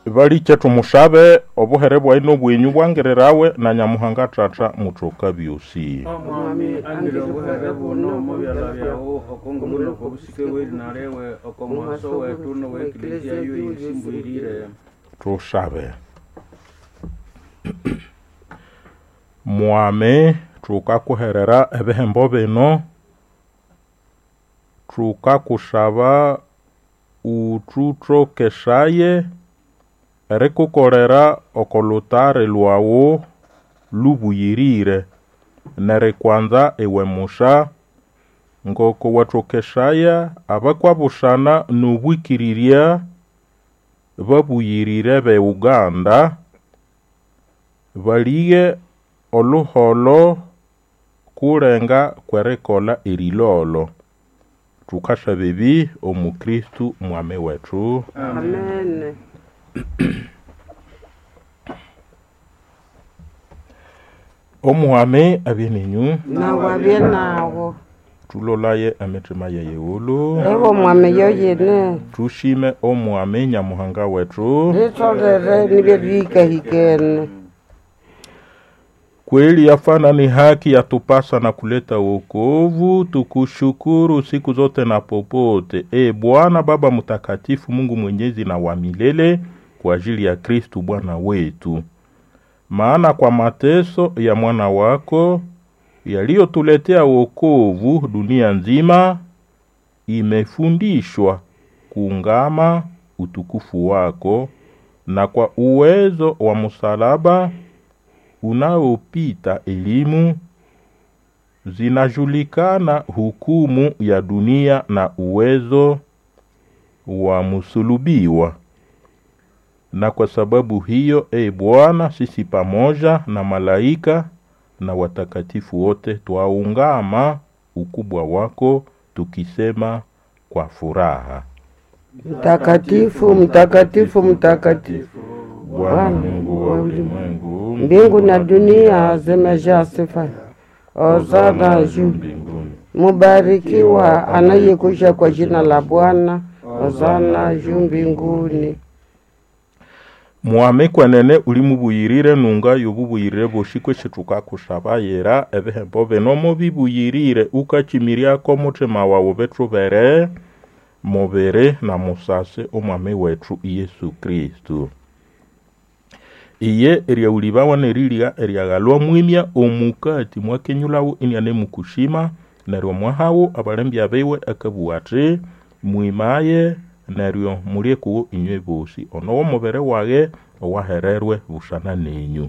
Balikye tumushabe obuhere bwayi n'obwenyu bwangirirawe na Nyamuhanga Tata mutoka byosi. Omwami angire obuhere buno omo byalha byawu okongulu n'okobusike bw'erina liwe, oko mughaso wethu n'owa Eklezia yoyisimbwirire. Tushabe. Mwami tukakuherera ebihembo bino, tukakushaba uthutokeshaye erikukolera oko lutari lwawu lubuyirire nerikwanza iwe musha ngoko wathokeshaya abakwabushana n'obwikirirya babuyirire be Uganda balighe oluholo kulenga kwerikolha erilolo. Thukasaba ebi omu Kristo mwami wethu. Amen. Omwami abye ninyu, Nawe abye nawo. thulolaye emitima yeyighulu, Ewo mwami yoyene. thushime omwami Nyamuhanga wethu. Litolere nibyo bihikahikene. Kweli yafana ni haki yatupasa na kuleta wokovu, tukushukuru siku zote na popote. E Bwana Baba Mtakatifu, Mungu mwenyezi na wa milele, kwa ajili ya Kristu Bwana wetu. Maana kwa mateso ya mwana wako yaliyotuletea wokovu, dunia nzima imefundishwa kuungama utukufu wako, na kwa uwezo wa msalaba unaopita elimu zinajulikana hukumu ya dunia na uwezo wa musulubiwa. Na kwa sababu hiyo, e Bwana, sisi pamoja na malaika na watakatifu wote twaungama ukubwa wako tukisema kwa furaha: Mtakatifu, mtakatifu, mtakatifu. Bwana Mungu wa ulimwengu, Mbingu na dunia zimejaa sifa. Hosana juu. mbinguni. Mubarikiwa anayekuja kwa jina la Bwana. Hosana juu mbinguni. Mwame kwenene ulimubuyirire nunga yobubuyirire boshi kwesi tukakusaba yera ebihembo bino mubibuyirire ukachimiryako muthima wawu bithubere mubiri na musasi omwami wethu Yesu Kristu. Iye eryawulibawa nerilya eryaghalwa mwimya omukati mwakenyulhawo inianemukushima neryo mwahawo abalembya biwe akabugha athi mwimaye neryo mulye kuwo inywe bosi ono w'omubiri wage owahererwe busana nenyu.